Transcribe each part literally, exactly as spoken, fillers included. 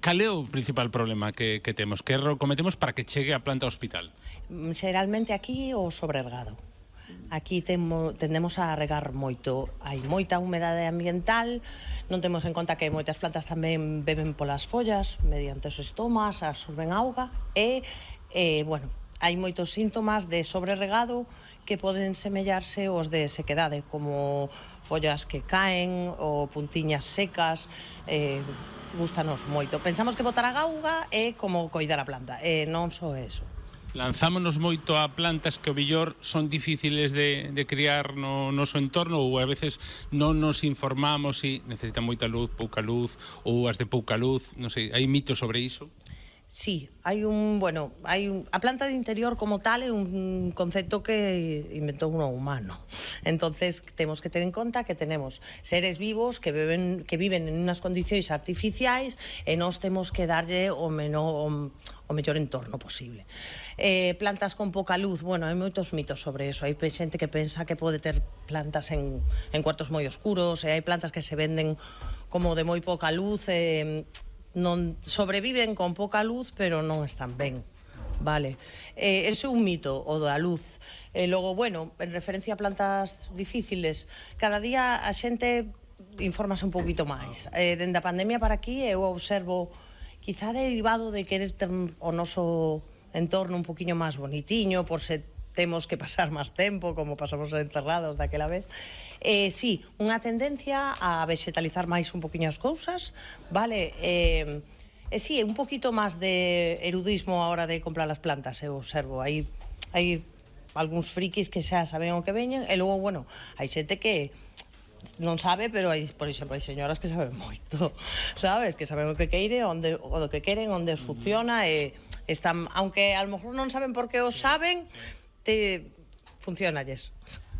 Cal é o principal problema que, que temos? Que erro cometemos para que chegue a planta ao hospital? Xeralmente aquí o sobrergado. Aquí temo, tendemos a regar moito. Hai moita humedade ambiental, non temos en conta que moitas plantas tamén beben polas follas, mediante os estomas, absorben auga, e, e bueno, hai moitos síntomas de sobrerregado que poden semellarse aos de sequedade, como follas que caen ou puntiñas secas, eh, gustanos moito. Pensamos que botar a auga é como coidar a planta, e non só eso. Lanzámonos moito a plantas que o mellor son difíciles de, de criar no noso entorno, ou a veces non nos informamos se si necesitan moita luz, pouca luz, ou as de pouca luz, non sei, hai mitos sobre iso? Sí, hai un, bueno, hai un, a planta de interior como tal é un concepto que inventou un humano. Entonces, temos que ter en conta que tenemos seres vivos que beben, que viven en unas condicións artificiais e nós temos que darlle o menor, o, o mellor entorno posible. Eh, plantas con pouca luz, bueno, hai moitos mitos sobre eso. Hai xente que pensa que pode ter plantas en, en cuartos moi oscuros, e hai plantas que se venden como de moi pouca luz, e eh, non sobreviven con pouca luz, pero non están ben, vale? Eh, ese é un mito, o da luz. E logo, bueno, en referencia a plantas difíciles, cada día a xente infórmase un poquito máis. Eh, dende a pandemia para aquí eu observo, quizá derivado de querer ter o noso entorno un poquinho máis bonitiño, por se temos que pasar máis tempo, como pasamos encerrados daquela vez. Eh, sí, unha tendencia a vegetalizar máis un poquinho as cousas, vale? Eh, eh, sí, un poquito máis de erudismo a hora de comprar as plantas, eu observo. Hai, hai algúns frikis que xa saben o que veñen, e logo, bueno, hai xente que non sabe, pero hai, por exemplo, hai señoras que saben moito, sabes? Que saben o que queire, onde, o do que queren, onde funciona, e están, aunque a lo mejor non saben por que o saben, te funcionalles.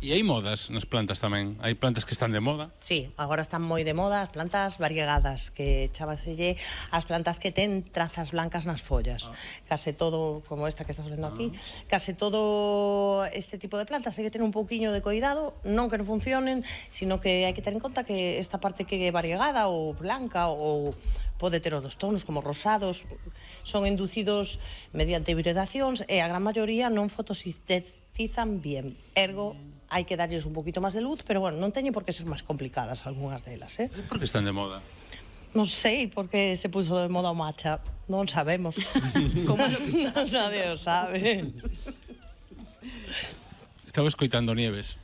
E hai modas nas plantas tamén? Hai plantas que están de moda? Sí, agora están moi de moda as plantas variegadas, que chámaselle as plantas que ten trazas blancas nas follas. Ah. Case todo, como esta que estás vendo aquí, ah. case todo este tipo de plantas hai que ter un pouquiño de cuidado, non que non funcionen, sino que hai que ter en conta que esta parte que é variegada ou blanca ou pode ter os dos tonos como rosados, son inducidos mediante hibridacións, e a gran maioría non fotosintetizan bien, ergo hai que darlles un poquito máis de luz, pero bueno, non teñen por que ser máis complicadas algunhas delas, eh? Por que están de moda? Non sei por que se puso de moda o matcha, non sabemos. Como lo que está? Nadie o sabe. Estaba escoitando Nieves.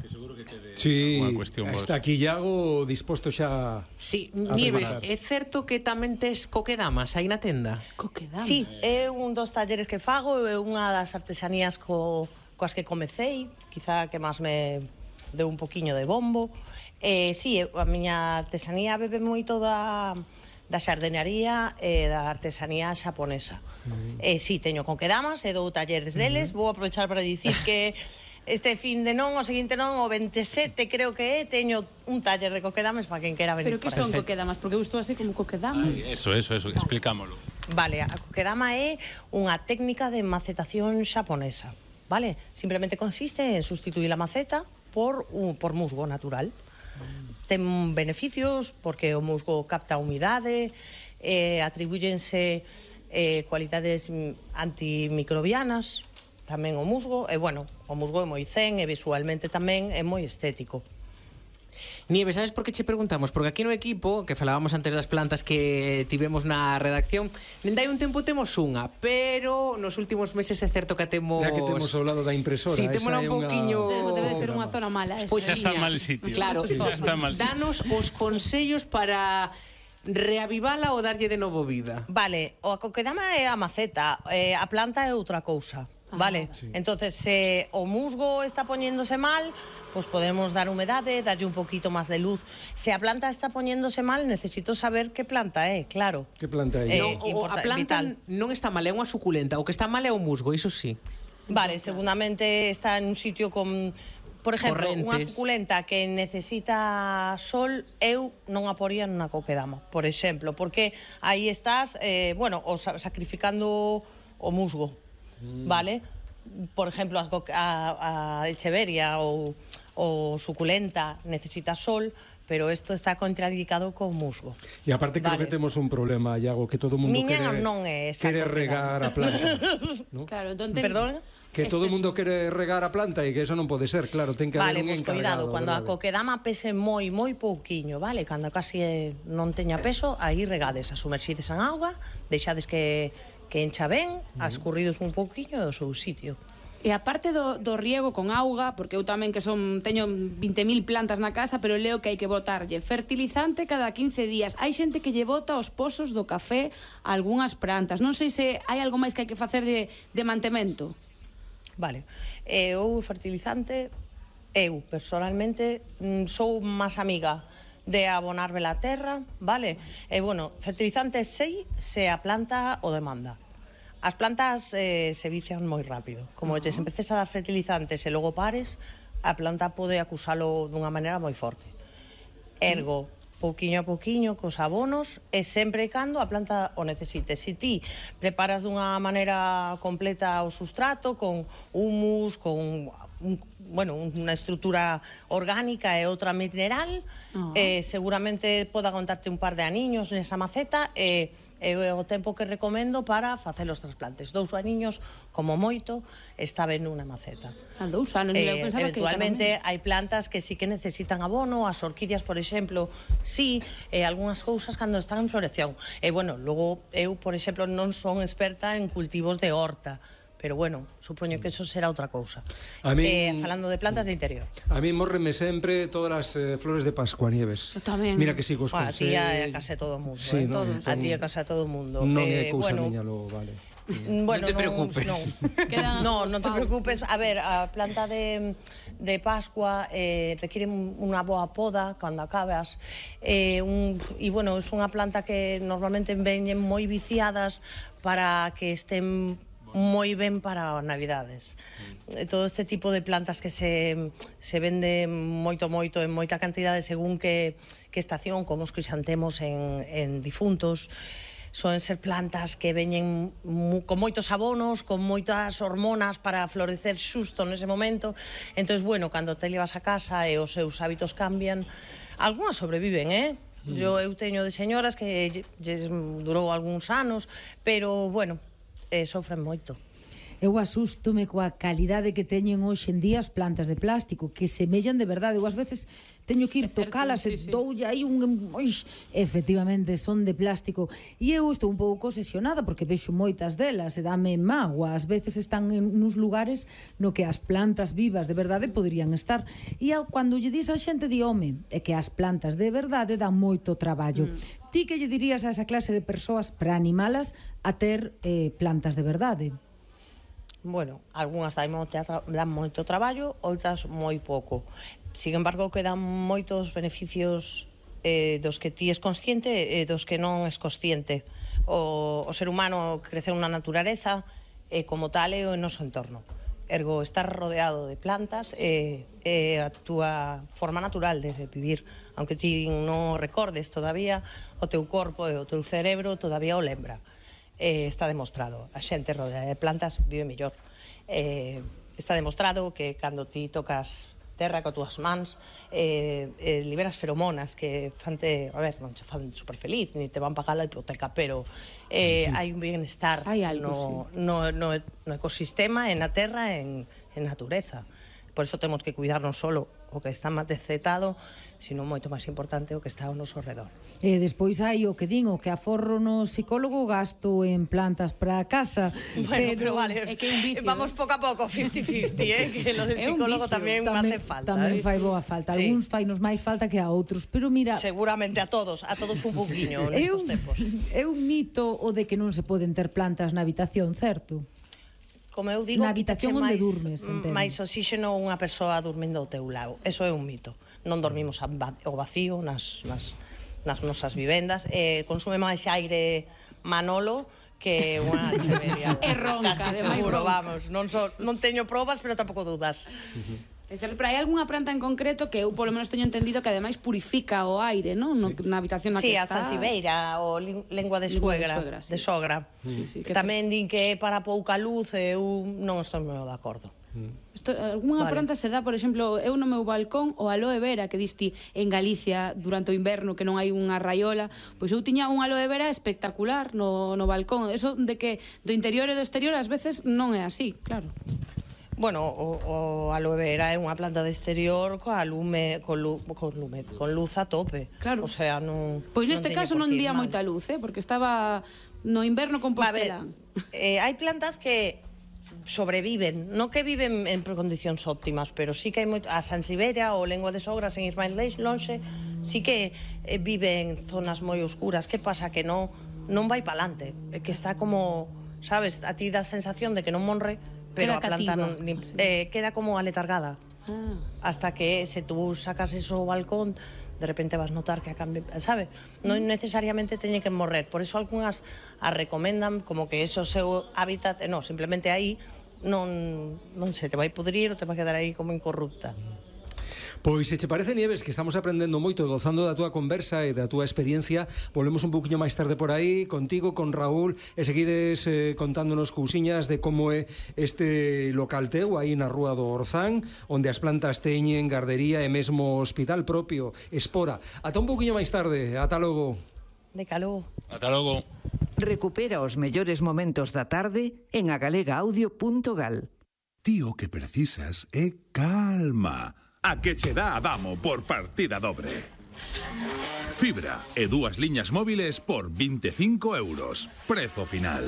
Que seguro que quede sí, unha cuestión vos. Está aquí Iago disposto xa. Sí, Nieves, é certo que tamén tes coquedamas aí na tenda? Coquedamas? Sí, é un dos talleres que fago, é unha das artesanías co coas que comecei, quizá que máis me deu un poquiño de bombo. Eh, sí, a miña artesanía bebe moito da, da xardenaría e da artesanía xaponesa. Mm. Eh, sí, teño conquedamas e dou talleres deles. Mm. Vou aprovechar para dicir que este fin de non, o seguinte non, o veintisiete creo que é, teño un taller de coquedamas para quen quera venir. Pero que son coquedamas? Porque eu estou así como coquedama. Ay, eso, eso, eso, explicámolo. Vale, a coquedama é unha técnica de macetación xaponesa. Vale, simplemente consiste en sustituir a maceta por, un, por musgo natural. Mm. Ten beneficios porque o musgo capta humidade, eh, atribúyense eh, cualidades antimicrobianas tamén o musgo, e bueno, o musgo é moi zen e visualmente tamén é moi estético. Nieves, sabes por que che preguntamos? Porque aquí no equipo, que falábamos antes das plantas que tivemos na redacción, dende hai un tempo temos unha, pero nos últimos meses é certo que temos... Na que temos ao lado da impresora. Sí, temos un pouquiño... Una... Debe de ser unha zona mala esa. Xa está mal sitio. Claro, sí, está mal sitio. Danos os consellos para reavivala ou darlle de novo vida. Vale, o a coquedama é a maceta, eh, a planta é outra cousa. Vale, sí. Entonces se o musgo está poñéndose mal, pues podemos dar humedade, darlle un poquito máis de luz. Se a planta está poñéndose mal, necesito saber que planta é, claro. Que planta é? Eh, no, o, a planta vital. Non está mal, é unha suculenta. O que está mal é o musgo, iso sí. Vale, seguramente está en un sitio con... Por exemplo, Correntes. Unha suculenta que necesita sol, eu non a poría nunha coquedama, por exemplo, porque aí estás, eh, bueno, o sacrificando o musgo. Mm. Vale? Por exemplo, a, a, a echeveria ou, ou suculenta necesita sol, pero isto está contraindicado con musgo. E aparte creo Vale. que temos un problema, Iago, que todo o mundo Miña quere, non é esa quere propiedade. regar a planta. ¿no? Claro, entón ten... Perdón? Que todo o Este mundo quere regar a planta e que eso non pode ser, claro, ten que Vale, haber un pois encargado. cuidado, cando a verdade? coquedama pese moi, moi pouquiño, vale? Cando casi eh, non teña peso, aí regades, a sumerxides en auga, deixades que, que encha ben, ascurridos un pouquiño do seu sitio. E a parte do, do riego con auga, porque eu tamén que son teño vinte mil plantas na casa, pero leo que hai que botarlle fertilizante cada quince días. Hai xente que lle bota os pozos do café a algunhas plantas. Non sei se hai algo máis que hai que facer de, de mantemento. Vale, eu fertilizante, eu personalmente mm, sou máis amiga de abonar a terra, vale? E bueno, fertilizante sei se a planta o demanda. As plantas eh, se vician moi rápido. Como uh -huh. se empeces a dar fertilizantes e logo pares, a planta pode acusalo dunha maneira moi forte. Ergo, pouquiño a pouquiño, cos abonos, e sempre e cando a planta o necesite. Se ti preparas dunha maneira completa o sustrato, con humus, con un, bueno, unha estrutura orgánica e outra mineral, uh -huh. eh, seguramente poda contarte un par de aniños nesa maceta, e é o tempo que recomendo para facer os trasplantes. Dous aniños, como moito, está ben nunha maceta. A dous anos, Eh, eu pensaba que eventualmente hai plantas que sí que necesitan abono, as orquídeas, por exemplo, sí, e algunhas cousas cando están en floración. E bueno, logo eu, por exemplo, non son experta en cultivos de horta, pero bueno, supoño que eso será outra cousa. A min- eh, falando de plantas de interior. A mí mórreme sempre todas as eh, flores de Pascuanieves. Eu tamén. Mira que sigo os Bueno, a ti é a consellos. casa de todo o mundo, Sí, eh? non, Todos. A entón, ti é a casa de todo o mundo. Non Eh, é cousa bueno, miña, lo vale. Mm, Bueno, Non te preocupes. Non, Quedan no, os non te paus. preocupes. A ver, a planta de, de Pascua eh, requiere unha boa poda cando acabas. Eh, un, e, bueno, é unha planta que normalmente veñen moi viciadas para que estén moi ben para as navidades. Mm. Todo este tipo de plantas que se, se vende moito, moito, en moita cantidade según que, que estación, como os crisantemos en, en difuntos, soen ser plantas que veñen mu, con moitos abonos, con moitas hormonas para florecer xusto nese momento. Entón, bueno, cando te levas a casa e os seus hábitos cambian, algunhas sobreviven, eh? Mm. Yo, eu teño de señoras que lles durou algúns anos, pero, bueno, eh, sofren moito. Eu asústome coa calidade que teñen hoxe en día as plantas de plástico, que semellan de verdade. Eu ás veces teño que ir É certo, tocalas sí, e sí. doulle aí un... Oix, efectivamente, son de plástico. E eu estou un pouco obsesionada porque vexo moitas delas e dame mágoa. Ás veces están en uns lugares no que as plantas vivas de verdade poderían estar. E ao- cando lle dis a xente, di, home, é que as plantas de verdade dan moito traballo. Mm. Ti que lle dirías a esa clase de persoas para animalas a ter eh, plantas de verdade? Bueno, algunhas dan moito, tra dan moito traballo, outras moi pouco. Sin embargo, quedan moitos beneficios eh, dos que ti es consciente e dos que non es consciente. O, o ser humano creceu na natureza e como tal é o noso entorno. Ergo, estar rodeado de plantas é, é a túa forma natural de vivir. Aunque ti non recordes todavía, o teu corpo e o teu cerebro todavía o lembra. Eh, está demostrado. A xente rodeada de plantas vive mellor. Eh, está demostrado que cando ti tocas terra co túas mans, eh, eh, liberas feromonas que fante, a ver, non te fan super feliz, ni te van pagar a hipoteca, pero eh, hai un bienestar Hai algo, no, no, no, no ecosistema, en a terra, en, en natureza. Por eso temos que cuidar non solo o que está máis decetado, sino moito máis importante o que está ao noso redor. E despois hai o que din, o que aforro no psicólogo gasto en plantas para casa. Bueno, pero, vale, é que é un vicio, vamos eh. pouco a pouco, cincuenta cincuenta, eh, que lo del É un psicólogo vicio. tamén me hace falta. Tamén eh. fai boa falta. Sí. Algúns fainos máis falta que a outros, pero mira, Seguramente a todos, a todos un pouquiño é nestos un, tempos. é un mito o de que non se poden ter plantas na habitación, certo? Como eu digo, Na habitación quítache onde máis, durmes, entendo. máis oxígeno unha persoa dormindo ao teu lado. Eso é un mito. Non dormimos ao vacío nas, nas, nas nosas vivendas. Eh, consume máis aire Manolo que unha cheveria. E ronca, Casi ademais seguro, ronca. vamos. Non, so, non teño probas, pero tampouco dudas. É certo, pero hai algunha planta en concreto que eu polo menos teño entendido que ademais purifica o aire, non? No, na habitación na Sí, que a estás. Sansibeira, o lin- lengua de Lingua de suegra, suegra, sí. de sogra. Sí, sí, que que tamén din que é para pouca luz, eu non estou moi de acordo. Isto, algunha Vale. planta se dá, por exemplo, eu no meu balcón o aloe vera que diste en Galicia durante o inverno que non hai unha raiola, pois eu tiña un aloe vera espectacular no, no balcón. Eso de que do interior e do exterior ás veces non é así, claro. Bueno, o, o aloe vera é unha planta de exterior coa lume, con, lu, con, lume, con luz a tope. Claro. O sea, non... Pois neste teñe caso por non que ir día mal. moita luz, eh, porque estaba no inverno Va, a ver, Compostela. eh, hai plantas que sobreviven, non que viven en condicións óptimas, pero sí que hai moito, a Sansiberia ou Lengua de Sogras en Ismael Lonxe, sí que eh, vive en zonas moi oscuras. Que pasa? Que non non vai para alante, que está como, sabes, a ti dá a sensación de que non monre, pero Queda a planta cativa, non, ni, así. eh, queda como aletargada. Ah. Hasta que se tú sacas eso ao balcón, de repente vas notar que a cambio, sabe? Non necesariamente teñen que morrer. Por eso algunhas as recomendan como que eso seu hábitat, eh, no, simplemente aí non, non se te vai pudrir ou te vai quedar aí como incorrupta. Pois se che parece, Nieves, que estamos aprendendo moito e gozando da túa conversa e da túa experiencia, volvemos un poquinho máis tarde por aí contigo, con Raúl, e seguides eh, contándonos cousiñas de como é este local teu aí na Rúa do Orzán, onde as plantas teñen gardería e mesmo hospital propio, Espora. Ata un poquinho máis tarde, ata logo. De calor. Ata logo. Recupera os mellores momentos da tarde en agalegaaudio punto gal. Ti o que precisas é calma. A que che dá Adamo por partida dobre. Fibra e dúas liñas móviles por veinticinco euros. Prezo final.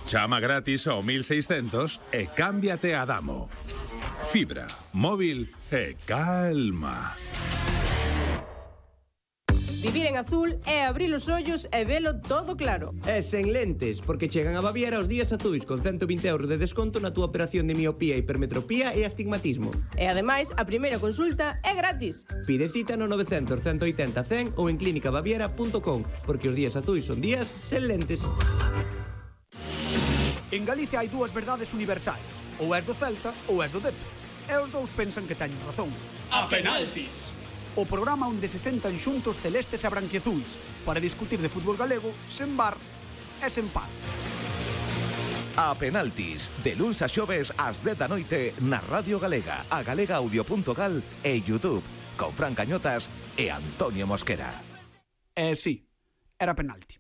Chama gratis ao mil seiscentos e cámbiate a Adamo. Fibra, móvil e calma. Vivir en azul é abrir os ollos e velo todo claro. E sen lentes, porque chegan a Baviera os días azuis con ciento vinte euros de desconto na túa operación de miopía, hipermetropía e astigmatismo. E ademais, a primeira consulta é gratis. Pide cita no novecientos, ciento oitenta, cen ou en clínica baviera punto com, porque os días azuis son días sen lentes. En Galicia hai dúas verdades universais. Ou és do Celta ou és do Dep. E os dous pensan que teñen razón. A penaltis! O programa onde se sentan xuntos celestes e branquiazuis para discutir de fútbol galego sen bar e sen paz. A penaltis, de luns a xoves ás dez da noite na Radio Galega, a galegaaudio punto gal e YouTube, con Fran Cañotas e Antonio Mosquera. E sí, era penalti.